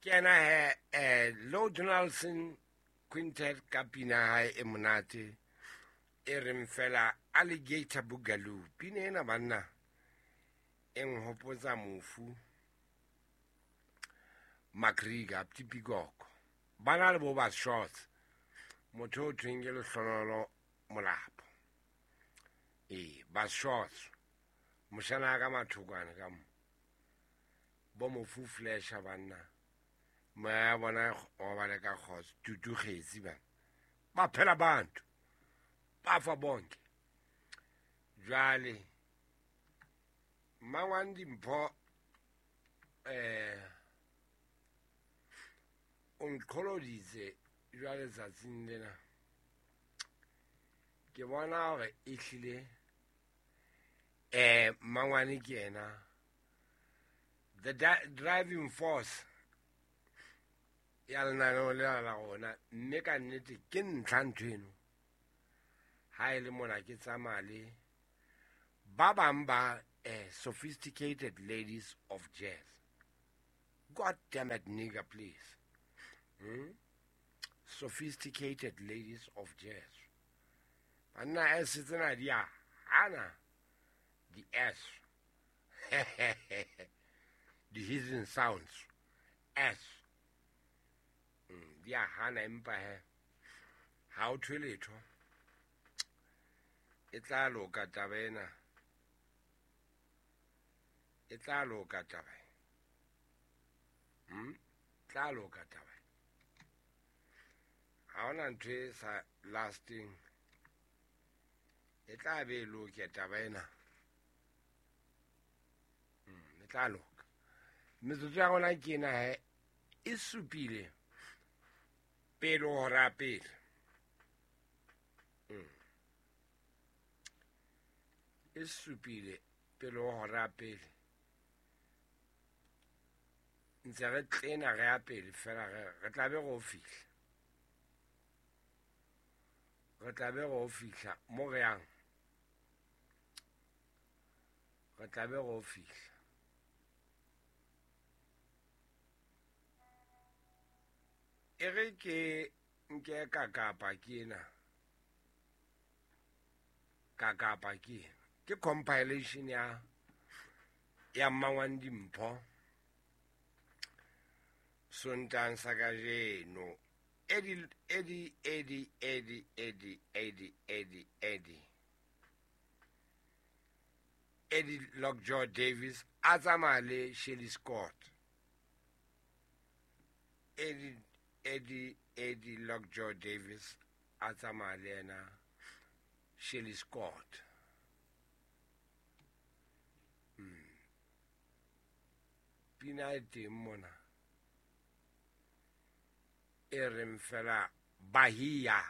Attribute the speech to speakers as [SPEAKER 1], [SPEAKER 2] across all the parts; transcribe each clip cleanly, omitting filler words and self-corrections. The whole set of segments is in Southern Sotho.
[SPEAKER 1] Ke ena he Lou Donaldson Quintet ka pina hae e monate e reng fela Alligator Boogaloo. Pina ena banna e nhopotsa mofu Makrika Ptipikoko. Ba na le bo ba shorts. Motho o thweng ke Lehlonololo Molapo. Ee, ba shorts. Moshana ka mathokwane ka mo. Bo mofu flasha banna. Moya ya bona o ba le ka kgotso. Tutu kgetsi bana. Ba phela bantu. Ba fa bonke. Jwale Mmangwane Dimpho o nqholoditse jwale tsatsing lena. Ke bona hore ehlile Mmangwane ke yena the driving force ya lenaneo lena la rona, mme ka nnete ke ntlha ntho eno. Ha e le mona ke tsamaya le ba bang ba sophisticated ladies of jazz. God damn it, nigga, please. Sophisticated ladies of jazz. Banna S tsena di a hana di S. The hissing sounds. S. Di a hana empa he. Ha o thwe letho. E tla loka taba ena. E tla loka taba. Tla loka taba. Ha hona ntho e sa lasting. E tla be e loke taba ena. E tla loka. Metsotso ya rona ke ena he e supile pele hora pele. E supile pele hora pele. Ntse re tlena re ya pele fela re tla be re o fihla. Re tla be re o fihla mo re yang. Re tla be re o fihla. E re ke nke ka kapa ke ena. Ka kapa ke ena. Ke compilation ya Mmangwane Dimpho. Sontang sa kajeno. Eddie, Eddie, Eddie, Eddie, Eddie, Eddie, Eddie, Eddie. Eddie Lockjaw Davis a tsamaya le Shirley Scott. Eddie, Eddie, Eddie Lockjaw Davis a tsamaya le yena Shirley Scott. Pina e teng mona. E reng fela Bahia.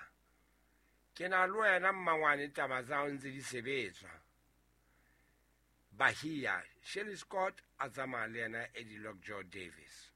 [SPEAKER 1] Ke na le wena mmangwane taba tsa hao ntse di sebetswa. Bahia, Shirley Scott a tsamaya le yena Eddie Lockjaw Davis.